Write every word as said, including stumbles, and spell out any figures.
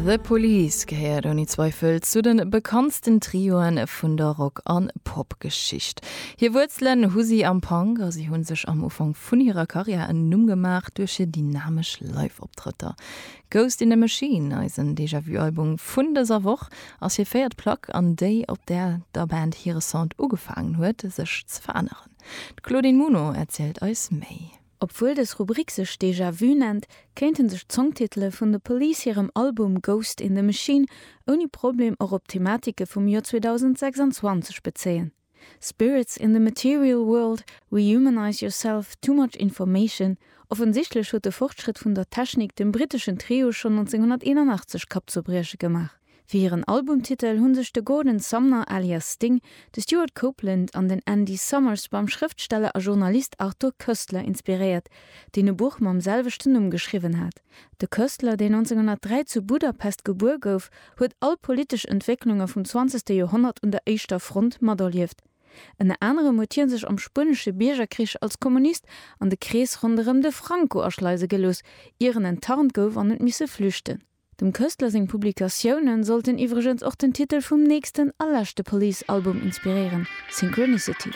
The Police gehéiert ouni Zweifel zu de bekanntsten Trioen vun der Rock an Popgeschicht. Hir Wuerzelen hu si am Punk a si hu sech am Ufank vun hirer Karriär en Numm gemaach duerch hir dynamesch Live-Optrëtter. Ghost in the Machine, eisen Déjà-vu-Album vun dëser Woch, ass hir véiert Plack an déi, op där der Band hire Sound ugefaangen huet, sech ze veränneren. D'Claudine Muno erzielt eis méi. Obwuel dës Rubrik sech Déjà Vu nennt, kéinte sech d'Songtitele vun The Police hirem Album Ghost in the Machine ouni Problem och op Thematike vum Joer zweedausendsechsanzwanzeg bezéien. Spirits in the Material World, Rehumanize Yourself, Too Much Information, offensichtlech huet de Fortschrëtt vun der Technik dem britteschen Trio schonn nonzénghonnerteenanachtzeg Kappzerbrieche gemaach. Fir hiren Albumtitel hu sech de Gordon Sumner alias Sting, de Stewart Copeland an den Andy Summers beim Schrëftsteller a Journalist Arthur Koestler inspiréiert, deen e Buch mam selwechten Numm geschriwwen hat. De Koestler, deen nonzénghonnertdräi zu Budapest gebuer gouf, huet all politesch Entwécklunge vum zwanzegste Joerhonnert un der éischter Front materlieft. Ënner anerem huet hie sech am Spuenesche Biergerkrich als Kommunist an de Krees ronderëm de Franco aschleise gelooss, ier en enttarnt gouf an huet misse flüchten. Dem Koestler seng Publikatioune sollten iwwregens och den Titel vum nächsten a leschte Police-Album inspiréieren, Synchronicity.